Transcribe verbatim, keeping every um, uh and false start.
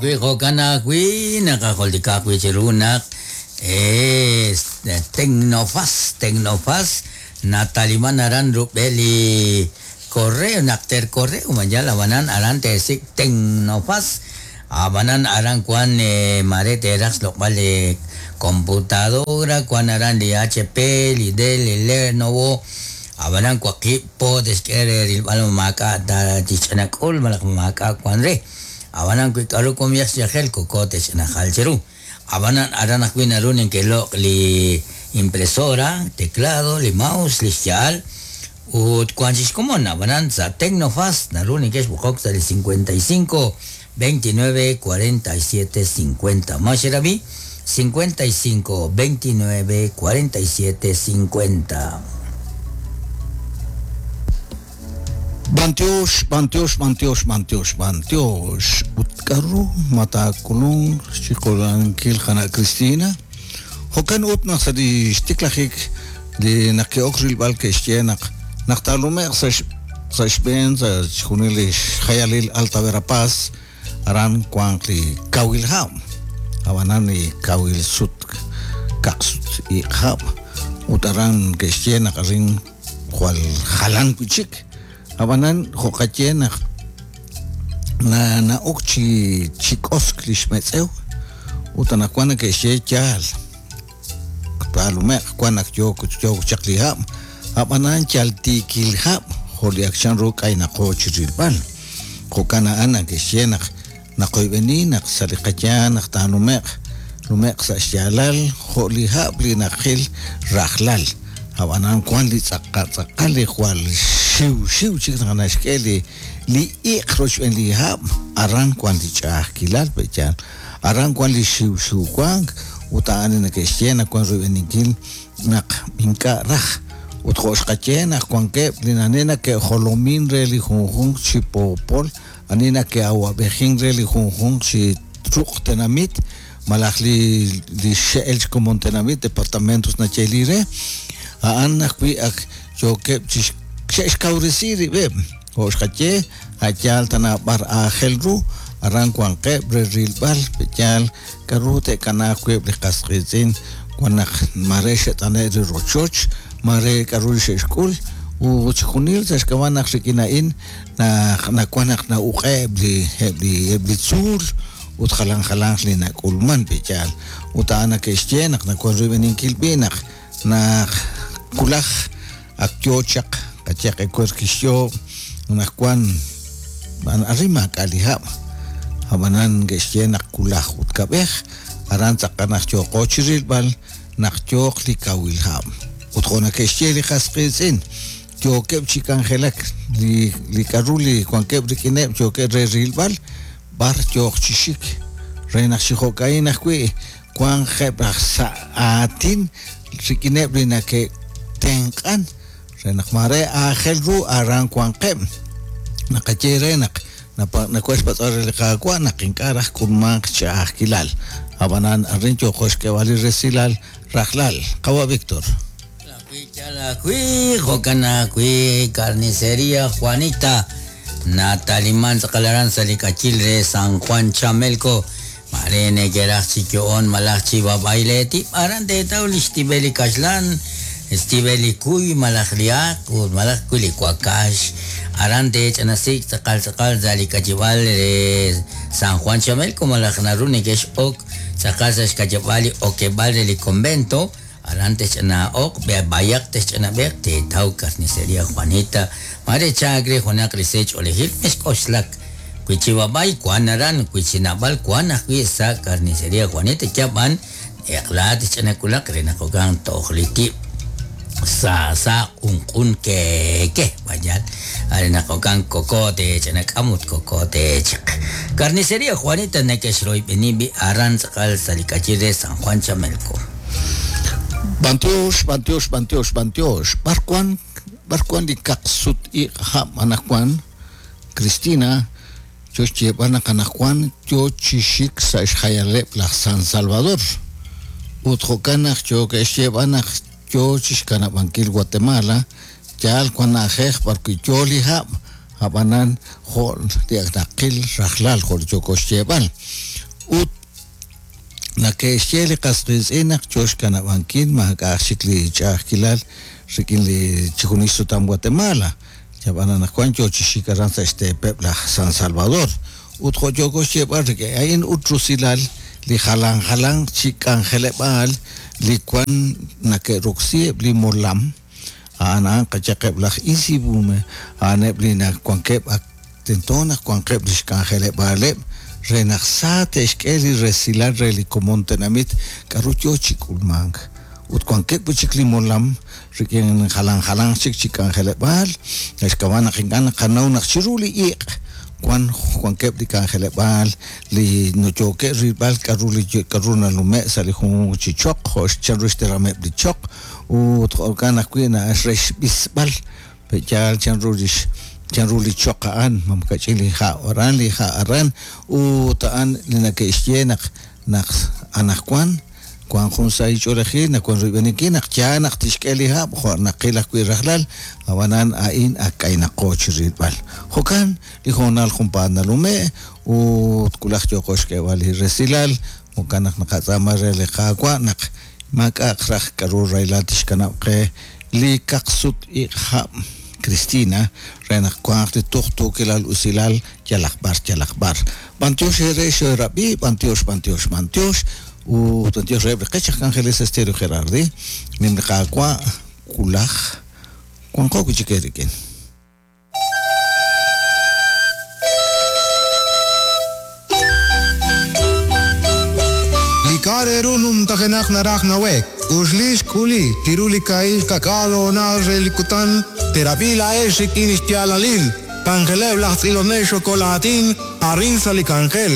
Wi jo'kan ajwi' naqajultika ajwi' chiru naq es Tecnofaz, Tecnofaz nataliman aran rub'el li correo naq ter correo mayal abanan aran teesik' Tecnofaz abanan aran wan mare teeraj xloq'b'al li computadora wan aran li H P li Dell li Lenovo abanan waqib' po texk'e re rilb'al maak'a' ta tixch'anak'ul malaj maak'a' wan re abanan wi k'aru komiyaj xyajel koko texch'anajal chiru abanan aran ajwi' naru ninkeloq' li impresora teclado li mouse li xya'al ut wan chixkomon abanan sa' Tecnofaz naru ninkex b'oqok sa' li cincuenta y cinco veintinueve cuarenta y siete cincuenta maxerabi cincuenta y cinco veintinueve cuarenta y siete cincuenta. Bantiox, bantiox, bantiox, bantiox, bantiox. Utkaru matakulung chikolankil jana Cristina. Jokan utnaq sa li xtiklajik li naq ke'ok rilb'al ke'xye naq naq taalume'q sa' sa' xb'een sa' xjunil li xjayalil Alta Verapaz aran wanq li kawil hab'. Abanan li kawil sut kaqsut iq hab' ut aran ke'xye naq arin jwal jalan wi' chik. Abanan jo'qaye naq na na'ok chi chi k'osk li xmetz'ew ut anaqwan neke'xye yaal taalume'q wan naq yook yook chaq li hab' ab'anan yal tiikil hab' jo' li ak chanru k'aynaqo chi rilb'al jo'kan a'an neke'xye naq naqoyb'eni naq sa' li qayaan naq taalume'q lume'q sa' xyaalal jo' li hab' li naqil rajlal ab'anan wan li tz'aqa tz'aqal li jwal xiw xiw chik naq naxk'e li li iq' roxb'een li hab' aran wan li ch'a'ajkilal pe'yaal aran wan li xiw xiw wank ut a'an neke'xye naq wan royb'eninkil naq ink'a' raj ut jo' xqaye naq wankeb' li nane nake'jolomin re li junjunq chi poopol ani nake'awab'ejin re li junjunq chi ruq' tenamit malaj li li xe'el xkomon tenamit departamentos nacheli re a'an ajwi' ak yookeb' chi xe'xkawresi rib'eb' jo' xqaye a'yaal tana b'ar aajel ru aran wanqeb' re rilb'al pe'yaal k'aru te'kanaaq wib' li qas qiitz'in wan naq mare xe't'ane' li rochoch mare k'aru li xe'xk'ul ut xjunil sa' xk'ab'a' naq rik'in a'in naq nawan naq na'uq'eb' li eb' li eb' li tzuul ut jalan jalanq li nak'ulman pe'yaal ut a'an nake'xye naq nawan royb'eninkil b'i' naq naq kulaj ak yoo chaq qayeq ewer kixyo naq wan arin maak'a' li hab' ab'anan ke'xye naq kulaj ut kab'ej aran tz'aqal naq yooqo chi rilb'al naq yooq li kawil hab' ut jo' nake'xye li qas qiitz'in yookeb' chi k'anjelak li li k'aru li wankeb' rik'ineb' yookeb' re rilb'al b'ar yooq chi xik re naq chi jo'ka'in ajwi' wanqeb' aj sa' aatin rik'ineb' li nake'tenq'an re naq mare aajel ru aran wanqeb' naqaye re naq nakuex xpatz'b'al re li Qaawa' naq ink'a' raj k'ulmanq ch'a'ajkilal ab'anan arin yooqo xk'eeb'al li resilal rajlal qawa' Víctor. Ajwi' jo'kan ajwi' Carnicería Juanita nataliman tz'aqal aran sa' li k'achil re San Juan Chamelco mare neke'raj chi yo'on malaj chi bab'ay leetib' aran teetaw li xtib'el li kaxlan xtib'el li kuy malaj li aaq ut malaj kuy li wakax aran teech'anasik tz'aqal tz'aqal sa' li k'achib'al re San Juan Chamelco malaj naru neke'x'ok tz'aqal sa' xk'achib'al li okeb'al re li convento aran texch'ana'oq b'ayaq texch'anab'eq teetaw Carnicería Juanita mare chaak re junaq li seech' olejil mexk'oxlak wi chi bab'ay wan aran wi chi nab'al wan ajwi' sa' Carnicería Juanita yab'an eq'la texch'anakulaq re naq jo'kan toj li tib' sa sa q'unq'un keke bayal are naq jo'kan koko tech'anak'am ut koko techiq Carnicería Juanita neke'xroyb'eni b'i aran tz'aqal sa' li k'achil re San Juan Chamelco. Bantiox, bantiox, bantiox, bantiox. B'ar wan b'ar wan li kaqsut iq' hab' anaqwan Cristina yo xyeeb'al naq anaqwan yo chi xik sa' xjayaleb' laj San Salvador ut jo'kan naq yo ke'xyeeb'al naq yo chi xkanab'ankil Guatemala yaal wan na'ajej b'ar wi' yo li hab' ab'anan jo' li ak naqil rajlal jo' li yoko xyeeb'al Ut nake'xye li qas qiitz'in naq yo xkanab'ankil maak'a'aq chik li ch'a'ajkilal rik'in li chi junil xsutam Guatemala. Ab'an anaqwan yo chi xik aran sa' xteepeb' laj San Salvador. Ut jo' yooko xyeeb'al rik'in a'in ut rusilal li jalan jalan chi k'anjeleb'aal li wan nake'roksi eb' li molam a'an a'an qayaqeb' laj INSIVUMEH a'aneb' li wankeb' ak tento naq wanqeb' li xk'anjeleb'aaleb' re naq sa te'xk'e li resilal re li komon tenamit k'a'ru yo chi k'ulmank. Ut wankeb' wi' chik li molam rik'in jalan jalan chik chi k'anjeleb'aal naxk'ab'a' naq ink'a' naqanaw naq chiru li iq' wan wankeb' li k'anjeleb'aal li yookeb' rilb'al k'a'ru li k'a'ru nalume' sa' li junjunq chi choq jo' chanru xterameb' li choq ut jo'kan ajwi' re xb'isb'al pe'yaal chanru lix chanru li choq a'an mam kach'in li ha' aran li ha' aran ut a'an li nake'xye naq naq anaqwan wan jun sahil ch'oolejil naq wan royb'eninkil naq yaal naq tixk'e li hab' jo' naqil ajwi' rajlal ab'anan a'in ak k'aynaqo chi rilb'al. Jo'kan li hoonal junpaat nalume' ut wulaj yooqo xk'eeb'al li resilal jo'kan naq naqatz'aama re li Qaawa' naq maak'a'aq raj k'a'ru rahilal tixkanab' qe li kaqsut-iq' hab' Cristina re naq wanq li tuqtuukilal usilal yalaq b'ar yalaq b'ar. B'antiox eere xeerab'i, b'antiox, b'antiox, b'antiox ut b'antiox reheb' li qech aj k'anjeles Estéreo Gerardi nim li Qaawa' wulaj wanqo wi' chik eerik'in. Li k'a' re ru numtajenaq naraj nawe'k uxli xk'uli chiru li kaahil ka'k'aal hoonal re li kutan terab'i laa'ex rik'in xyaalalil k'anjeleb' laj tz'ilonel xokolaatin arin sa' li k'anjel.